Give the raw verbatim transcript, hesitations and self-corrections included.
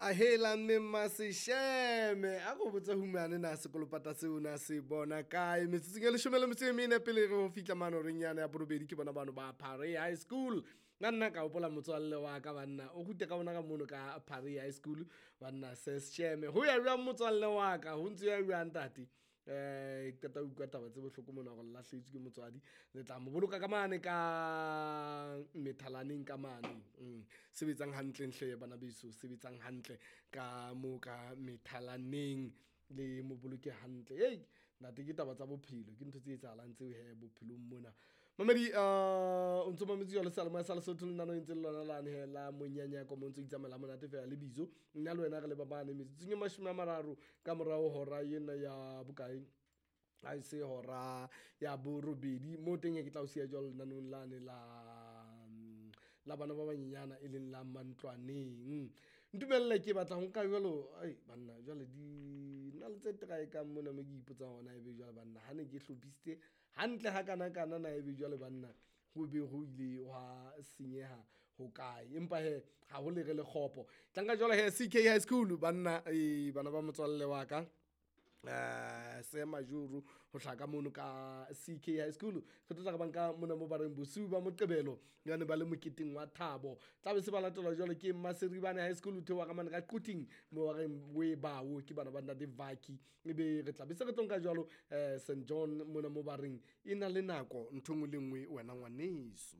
Ahela mme Masesheme a ko botse humane na sekolopata seo na se bona kae metsotsong e leshome le metso e mene pele re ho fihla mane horeng yane ya borobedi ke bona bano ba Phare High School. Nna nna ka hopola motswalle wa ka banna o rute ka bona ka mono ka Phare High School banna Sesheme ho ya jwang motswalle wa ka ho ntse ya jwang ntate. Eh qeta ho utlwa taba tse bohloko mona hore lahlehetswe ke motswadi le tla mo boloka ka mane ka methalaneng ka mane. Mm. Sebetsang hantle hle bana beso sebetsang hantle ka mo ka methalaneng le mo boloke hantle. Hey ntate ke taba tsa bophelo ke ntho tse etsahalang tseo he bophelong mona. Mamedi uh o ntso mametse jwalo seyalemoya sa Lesotho le nano ntse le lona lane he la monyanyako mo ntso itsamaela monate fela le bizo nna le wena re le ba bane metsotsong e mashome a mararo ka morao hora ena ya bokae ha e se hora ya borobedi mo teng ke tla o siya jwalo lenaneng lane la la bana ba banyenyana e leng la mantlwaneng. Ntumelle ke batla ho nka jwalo ai banna jwale di na le tse traekang mona mo ke ipotsang hona ebe jwale banna ha ne ke hlophisitse hantle ha kana kana na ebe jwale banna ho be ho ile hwa senyeha ho kae empa he ha ho lere le kgopo. Tla nka jwalo he C K High School banna eh bana ba motswalle wa ka eh se majoro ho hlaka mono ka C K High School re tlo tla re banka mona mo ba reng bosiu ba Moqebelo yane ba le moketeng wa thabo tla be se ba latelwa jwalo ke Maseribane High School theoha ka mane ka Quthing mo ba reng we bawo ke bana ba ntate Vaki ebe re tla be se re tlo nka jwalo eh Saint John mona mo ba reng e na le nako ntho e nngwe le nngwe wena ngwaneso.